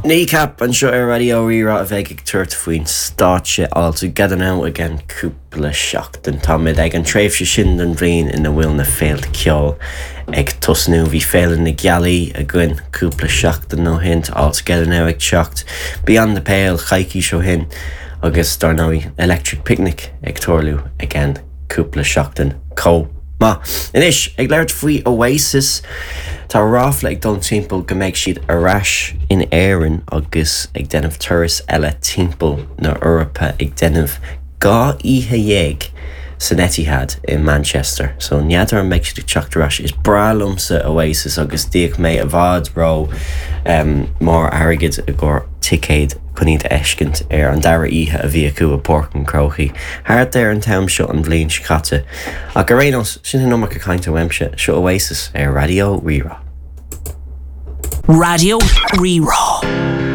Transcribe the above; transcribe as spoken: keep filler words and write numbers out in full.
Kneecap anseo ar Raidió Rí-Rá a bheidh ag tabhairt faoin stáitse All Together Now i gceann cúpla seachtain. Táimid ag an tréimhse sin den bhliain ina bhfuil na féilte ceoil ag tosnú bhí Féile na Gealaí againn cúpla seachtain ó shin All Together Now ag teacht Beyond the Pale coicís ó shin agus dar ndóigh Electric Picnic ag tarlú i gceann cúpla seachtain chomh maith. Anois ag labhairt faoi Oasis Tá ráfla ag dul timpeall go mbeidh siad ar ais in Éirinn agus ag déanamh turas eile timpeall na hEorpa ag déanamh dhá oíche dhéag san Etihad in Manchester. So n'fheadar an mbeidh siad ag teacht ar ais is breá liomsa Oasis agus d'íoc mé i bhfad ró um, mór airgid i gcomhair ticéad chun iad a fheiscint ar an dara oíche a bhí acu i bPáirc an Chrócaigh. Thart ar an t-am seo an bhliain seo caite. Ach ar aon nós sin an iomarca cainte uaimse seo Oasis ar Raidió Rí-Rá. Raidió Rí-Rá.